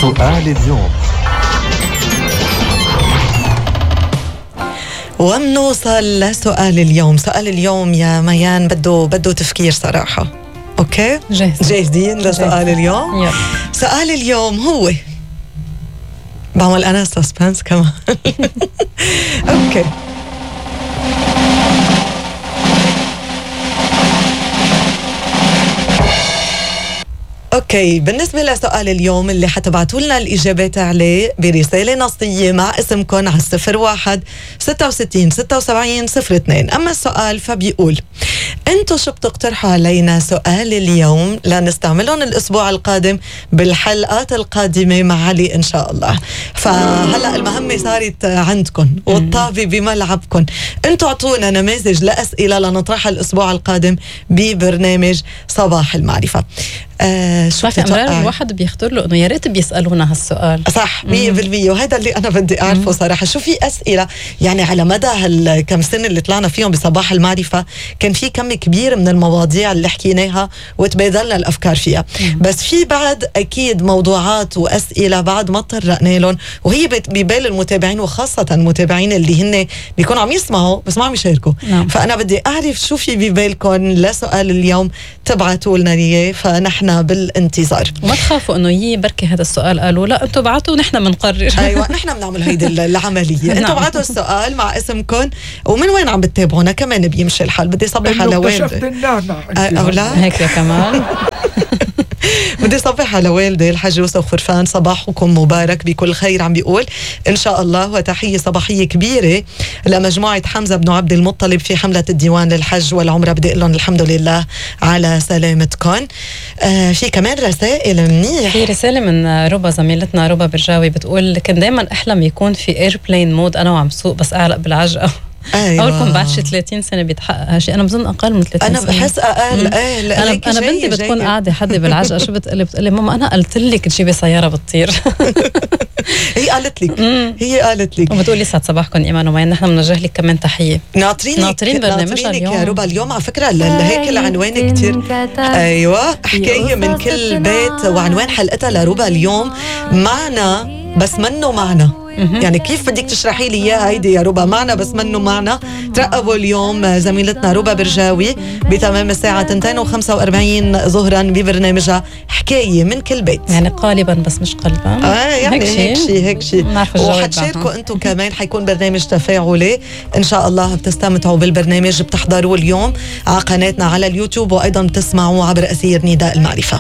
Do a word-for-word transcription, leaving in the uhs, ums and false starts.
سؤال اليوم. ومنوصل لسؤال اليوم. سؤال اليوم يا ميان بده بده تفكير صراحة. اوكي جاهز. جاهزين لسؤال اليوم؟ يلا. سؤال اليوم هو، بعمل انا سسبنس كمان. اوكي اوكي بالنسبة لسؤال اليوم اللي حتبعتوا لنا الإجابات عليه برسالة نصية مع اسمكم على الصفر واحد ستة وستين ستة وسبعين صفر اثنين. أما السؤال فبيقول: انتو شو بتقترحوا علينا سؤال اليوم لنستعملهم الأسبوع القادم بالحلقات القادمة مع علي إن شاء الله. فهلأ المهمة صارت عندكم والطابة بملعبكم. انتو اعطونا نماذج لأسئلة لنطرحها الأسبوع القادم ببرنامج صباح المعرفة. آه شو امرار الواحد بيختار له انه يا ريت بيسالونا هالسؤال. صح مية بالمية، وهذا اللي انا بدي اعرفه صراحه. شو في اسئله يعني على مدى هالكم سنه اللي طلعنا فيهم بصباح المعرفه، كان في كم كبير من المواضيع اللي حكيناها وتبادلنا الافكار فيها. مم. بس في بعد اكيد موضوعات واسئله بعد ما تطرقنا لهم، وهي ببال المتابعين وخاصه المتابعين اللي هن بيكونوا عم يسمعوا بس ما عم يشاركوا. نعم. فانا بدي اعرف شو في ببالكم لسؤال اليوم، تبعتوا لنا اياه فنحن بالانتظار. وما تخافوا انه يي بركي هذا السؤال قالوا لا انتم بعتوا ونحن بنقرر. ايوه نحن بنعمل هيدي العمليه. انتم بعتوا السؤال مع اسمكم ومن وين عم بتتابعونا، كمان بيمشي الحال. بدي صبح على والدي او لا هيك يا كمان. بدي صبح على والدي الحاج يوسف خرفان، صباحكم مبارك بكل خير. عم بيقول ان شاء الله، وتحيه صباحيه كبيره لمجموعه حمزه بن عبد المطلب في حمله الديوان للحج والعمره. بدي اقول لهم الحمد لله على سلامتكم. آه في كمان رسائل منيح. في رساله من ربا زميلتنا ربا برجاوي بتقول: كنت دايما احلم يكون في ايربلين مود انا وعم سوق بس اعلق بالعجقه. أيوة. أولكم بعد شي ثلاثين سنة بيتحقق هالشيء. أنا بظن أقل من ثلاثين أنا سنة. أنا بحس أقل. إيه أنا أنا بنتي بتكون قاعدة حدي بالعجقة شو بتقلي بتقلي ماما أنا قلت لك تجيبي سيارة بتطير. هي قالت لك هي قالت لك وبتقولي يسعد صباحكم إيمان ومين. نحن بنوجه لك كمان تحية. ناطرينك ناطرين برنامجنا اليوم يا ربا. اليوم على فكرة هيك العنوان كتير. أيوة حكاية من كل بيت، وعنوان حلقتها لربا اليوم معنا بس منه معنا. يعني كيف بدك تشرحي لي اياها هيدي يا ربا؟ معنا بس منه معنا. ترقبوا اليوم زميلتنا ربا برجاوي بتمام الساعة اثنتين وخمسة وأربعين ظهرا ببرنامجها حكاية من كل بيت. يعني قالبا بس مش قلبا. اه يعني هيك شيء هيك شيء. وحتشاركوا انتم كمان، حيكون برنامج تفاعلي ان شاء الله. بتستمتعوا بالبرنامج، بتحضروا اليوم على قناتنا على اليوتيوب، وايضا بتسمعوا عبر أثير نداء المعرفة.